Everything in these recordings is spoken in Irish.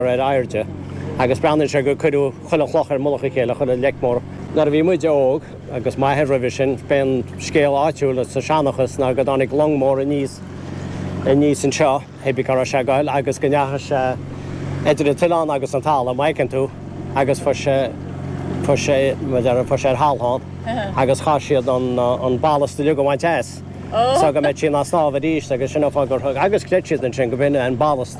Ar airde agus breathnaíonn sé gur cuireadh chuile chloch ar mullach a chéile, chuile leic mór. Nuair a bhí muide óg, agus m'athair roimhe sin, b'é an scéal áitiúil sa seanchas ná go dtáinig long mór aníos aníos anseo, hé bí cá raibh sé ag goil, agus go ndeachaigh sé idir an t-oileán agus an talamh, má fheiceann tú, agus fuair sé, fuair sé, mar a déarfá, fuair sé ar thalthán agus chaith siad an, an ballast uilig a bhaint as so go mbeadh sí in ann snámh arís agus sin an fáth gur thug, agus chreid siad ansin go b'in an ballast.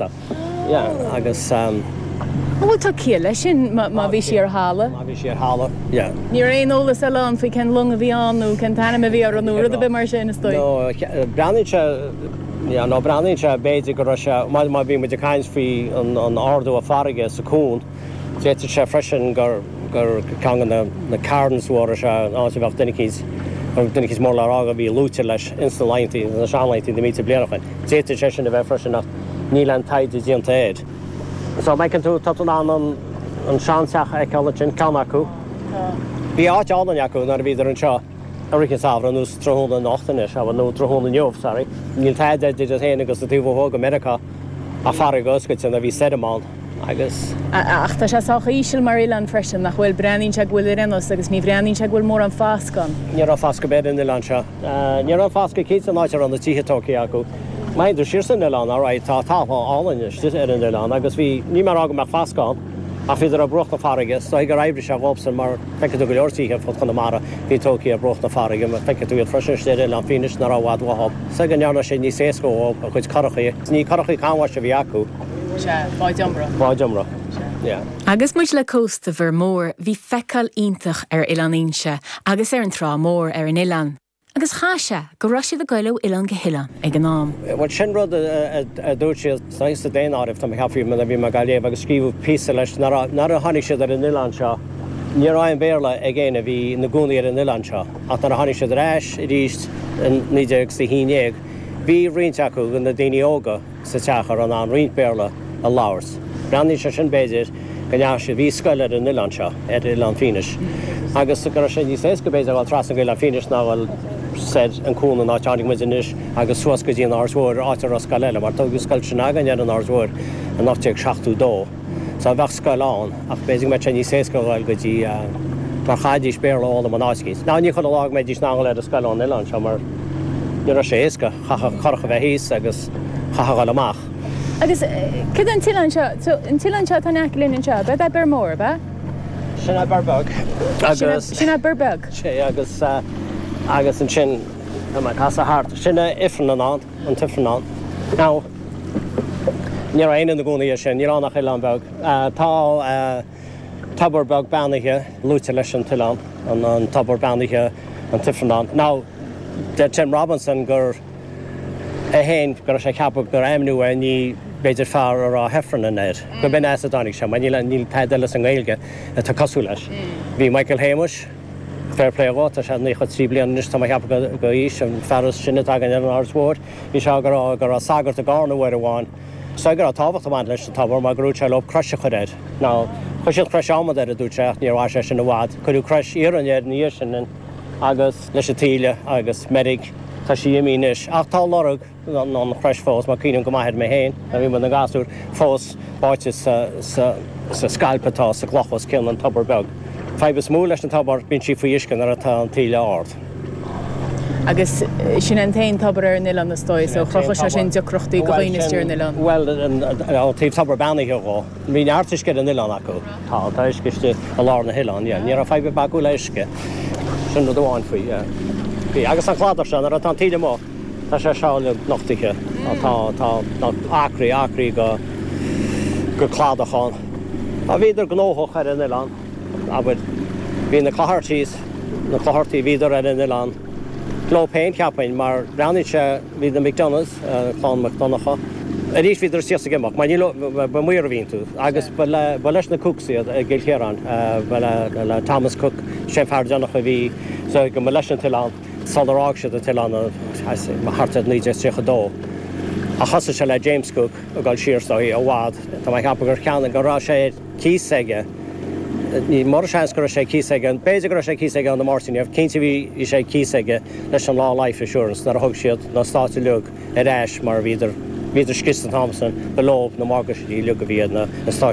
Yeah, agus. An bhfuil tá ciall leis sin má bhí sí ar thalamh? Má bhí sí ar thalamh, yeah. Ní raibh aon eolas eile ann faoi cén long a bhí ann nó cén t-ainm a bhí uirthi nó rud ar bith mar sin, is dóigh. No, breathnaíonn sé, yeah, no, breathnaíonn sé b'fhéidir go raibh sé, má bhí muid ag caint faoi an ardú a farraige sa cuan, D'fhéadfadh sé freisin gur ceann de na cairns mhóra seo, an áit a bheadh duine eicínt, duine eicínt mór le rá a bhí luaite leis ins na laethanta, na seanlaethanta, na mílte bliain ó shin. D'fhéadfadh sé sin a bheith freisin ach níl aon taighde déanta air. So, má fheiceann tú, tá tú in ann an, an seanteach a fheiceáil ansin, ceann acu. Bhí áit álainn acu nuair a bhíodar anseo i rith an tsamhraidh, nó tráthnóna anocht anois, nó tráthnóna inniu, sorry. Níl tada idir iad féin agus an taobh ó thuaidh go Meiriceá ach farraige oscailte nuair a bhí stoirm ann. Agus. Ach tá sé sách íseal mar oileán freisin, nach bhfuil? Breathnaíonn sé go bhfuil ar aon nós agus ní bhreathnaíonn sé go bhfuil mórán foscadh ann. Ní raibh foscadh ar bith ar an oileán seo. Ní raibh foscadh cinnte an áit a raibh na tithe tógtha acu. Má théann tú siar san oileán, alright, tá talamh álainn istigh ar an oileán agus bhí, níl mé ag rá go mbeadh foscadh ann, ach bhíodar ar bruach na farraige. Is dóigh gur oibrigh sé dhóibhsan mar feicfidh tú go leor tithe ar fud Chonamara a bhí tógtha ar bruach na farraige. Feicfidh tú iad freisin istigh ar Oileán Fínis nach raibh i bhfad uathu. Is dóigh go ndearna sé níos éasca dhóibh a gcuid curachaí. Ní curachaí canbháis a bhí acu. Sea, báid iomramh. Báid iomramh, yeah. Agus muid le cósta Bhir Mór, bhí feiceáil iontach ar Oileán Fhínse agus ar an trá mhór ar an oileán. Agus chaith sé go raibh siad ag goil ó oileán go hoileán ag an am. Bhuel, sin rud a dúirt siad sa daonáireamh, tá mé ag ceapadh, nuair a bhí mé ag léamh agus scríobhadh píosa leis, nuair a tháinig siad ar an oileán seo, ní raibh aon Bhéarla ag éinne a bhí ina gcónaí ar an oileán seo. Ach nuair a tháinig siad ar ais arís in 1911, bhí roinnt acu, na daoine óga, sa teach a raibh in ann roinnt Béarla a labhairt. Breathnaíonn sé sin, b'fhéidir, go ndeachaigh siad, bhí scoil ar an oileán seo, ar Oileán Fínis, agus go raibh sé níos éasca, b'fhéidir, a dhul trasna go Oileán Fínis ná a dhul soir an cuan an áit a tháinig muid anois agus suas go dtí an Áird Mhóir, áit a raibh scoil eile, mar tógadh scoil sin againn ar an Áird Mhóir in 1872. So bheadh scoil ann, ach b'fhéidir go mbeadh sé níos éasca a dhul go dtí, mar chaithfidís Béarla a fhoghlaim in áit eicínt. Now ní chuile lá go mbeidís in ann a dhul ar an scoil ón oileán seo mar ní raibh sé éasca, chaithfeadh curach a bheith thíos agus chaithfeadh a dhul amach. Agus cad é an t-oileán seo, so an t-oileán seo atá in aice linn anseo, ab ea Bior Mór, ab ea? Sin é Bior Beag agus. Sin é Bior Beag. Sé agus, agus ansin tá mé ag casadh thart, sin é Ifreann ann. an tIfreann ann. Now, ní raibh éinne ina gcónaí air sin, ní raibh ann ach oileán beag. Tá tobar beag beannaithe luaite leis an t-oileán, an tobar beannaithe, an tIfreann ann. Now, deir Tim Robinson gur é féin, go raibh sé ag ceapadh gur ainmniú é i ndiaidh b'fhéidir fear a raibh Heffernan air, go b'in as a dtáinig sé, mar níl, níl tada eile sa nGaeilge atá cosúil leis. Bhí Michael Shéamuis, Fair play dhó, tá sé 93 bliain anois, tá mé ag ceapadh go aois, an fear is sine atá againn ar an Áird Mhóir. Bhí sé ag rá go raibh sagart i gCarna uair amháin. Is dóigh go raibh tábhacht ag baint leis an tobar mar gur dhúirt sé leo crois a chur air. Now, chuir siad crois adhmad air, a dúirt sé, ach níor mhair sé sin i bhfad. Cuireadh crois iarainn air ina dhiaidh sin agus leis an taoille agus meirg, tá sí imithe anois. Ach tá lorg. an chrois fós, mar cuimhním go maith air mé féin, nuair a bhí muid ina ngasúir, fós báite sa scailp atá sa gcloch os cionn an tobar beag. Fadhb is mó leis an tobar, bíonn sí faoi uisce nuair atá an taoille ard. Agus sin é an t-aon tobar ar an oileán is dóigh, so chruthódh sé sin deacrachtaí do dhaoine istigh ar an oileán. Bhuel, ó thaobh tobar beannaithe dhó, bhí neart uisce ar an oileán acu. Tá, tá uisce istigh i lár na hoileáin, yeah. Ní raibh fadhb ar bith acu le uisce. Sin rud amháin faoi, yeah. Bhí. Agus an cladach seo, nuair atá an taoille amuigh, Tá sé seo uilig nochtaithe. Tá, tá, tá acraí, acraí go, go cladach ann. Tá, bhíodar gnóthach ar an oileán, abair. Bhí na Cloghertys, na Clogherty, bhíodar ar an oileán leo féin, cheapfainn, mar breathnaíonn sé, bhí na McDonaghs, clann Mac Donncha, arís bhíodar istigh is ag imeacht, mar ní, ba maor a bhí iontu, agus ba le, ba leis na Cooks iad i gCill Chiaráin, ba le, le Thomas Cooke, sé an fear deireanach a bhí, so go mba leis an t-oileán. Sular fhág siad an t-oileán thart ar 1932. Ach thosaigh sé le James Cooke ag dul siar is dóigh i bhfad. Tá mé ag ceapadh gur cheannaigh, go raibh sé ar cíos aige, ní mór seans go raibh sé ar cíos aige, b'fhéidir go raibh sé ar cíos aige ó na Máirtínigh, ach cinnte bhí sé ar cíos aige leis an Law Life Assurance nuair a thug siad na eastáit uilig ar ais mar bhíodar. Bhíodar scriosta an t-am san, ba leo na morgáistí uilig a bhí ar na eastáit.